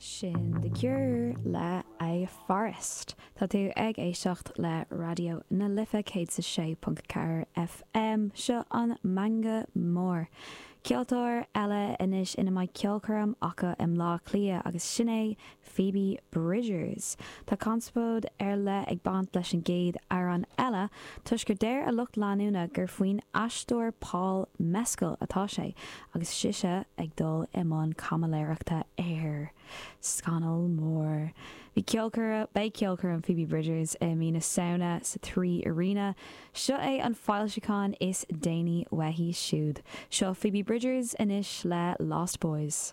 Sin The Cure le A Forest. Tá tú ag éisteacht le Raidió na Life 106.4 FM. Seo an Meangadh Mór. Ceoltóir eile anois ina mbeidh ceolchoirm acu i mBleá Cliath agus sin é Phoebe Bridgers. Tá conspóid ar leith ag baint leis an gcéad amhrán eile toisc gur deir a lucht leanúna gur faoin aisteoir Paul Mescal atá sé agus sise ag dul i mbun caimiléireachta air. Scannal mór. Bhí ceolchoirm, beidh ceolchoirm Phoebe Bridgers i mí na Samhna sa Three Arena. Seo é an foilseachán is déanaí uaithi siúd. Seo Phoebe Bridgers anois le Lost Boys.